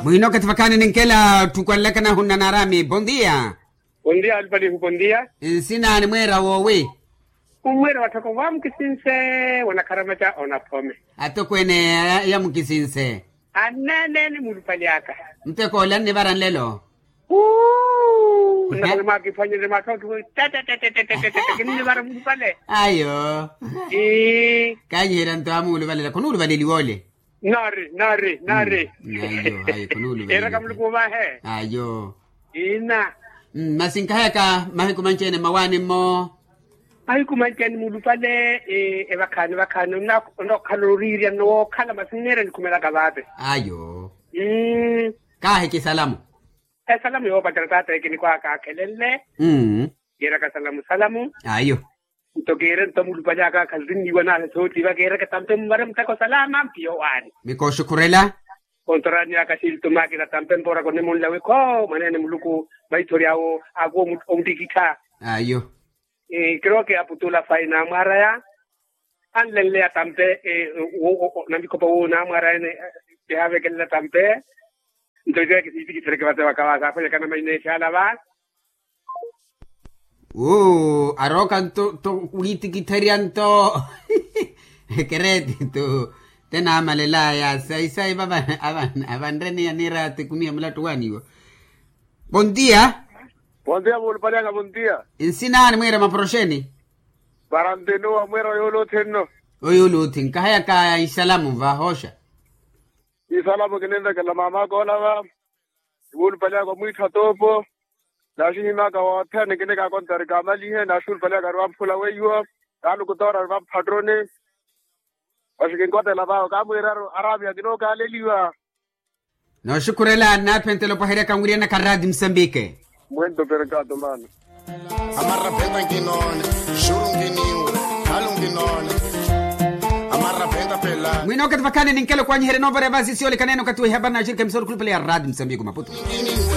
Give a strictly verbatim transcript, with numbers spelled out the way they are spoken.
Muhina okathi vakhaani ninkela tthukwanlaka nahunna naarami bondia. Bondia alupalihu bondia. Nsinaani mweera woowi? Umweera watthoko wa mukisinse wanakharamaca onaphome. Atokweene ya mukisinse. Anneene ni mulupali aka. Muteko ole annivara nlelo. Uu. Nnakhala mwaakiphwanyerye matthooki wi tata tata tata tata kinnivara mulupale. Ayo. Kanyiherya nto amuuluvalela khunuuluvaleliwa ole. Naari naari naari. Ayo ayo khunuuluvaleliwa. Eraka muluku vahe. Ayo. Ina. Masi nkahayaka mahiku manci-ene mmawaani-mmo. Mahiku manci-ene mulupale. Evakhaani vakhaani onnookhala oriirya nnowookhala masi nneera nikhumelaka vaate. Ayo. Kaahiki salamu. Esalamu yoopatela taata ekinikwaka akhelenle. Kiiraka salamu salamu. Ayo. Nto kiire nto mulupali aka akhalinniwa naahe sootiiva kiiraka tampe muvare muteko salama mpiyo waani. Mikooxukhurela. Kontorani aka xilto maakina tampe mpoora konimunla wi khoo mwaneene muluku maithori awo akuwa omuttikittha. Ayo. Kiroke aputula fayi naamwaraya. Anlenleya tampe. Navikhopa wuwo naamwaraya ene. Kihaavekelela tampe. Nto itiya kisiitikithereke vate vakavaasa akhwenyakana maineexe ala va. Uu arooka nto to wiitikitherya nto. Ekereeti tu te naamalelaya sayi sayi va avanreniya niiraati kumi ya mulattu waaniwo. Bontiya. Bontiya muulupaliyaka bontiya. Nsinaani mwiira maporoxeni? Varantenowa mwiira oyoolothe nno. Oyoolothe nkahayaka isalamu vahooxa. Isalamu kininvekela maamaka ola va. Nimuulupaliyaka omwiittha toopo. Naaxihimyaka wothene kinikaakonta ori kaamalihe naaxuulupaliyaka ori vamphula weiwo. Kaalukutoora ori vamphattoni. Masi kinkotela vawo kaamwiiraru araamiha kinookaaleliwa. Nooxukhurela nnaaphentela opwaheryaka nwiryanaka raati musambike. Mwento perkato maana. Amarrapenta nkinoone. Xuru nkiniwe. Khalu nkinoone. Amarrapenta pela mwina okathi vakhaani ninkela okwanyiherya noovara evasi siyoolekana ene okathi wa ihapari naaxirikha emisoro khulupale ya raati musambike maputo.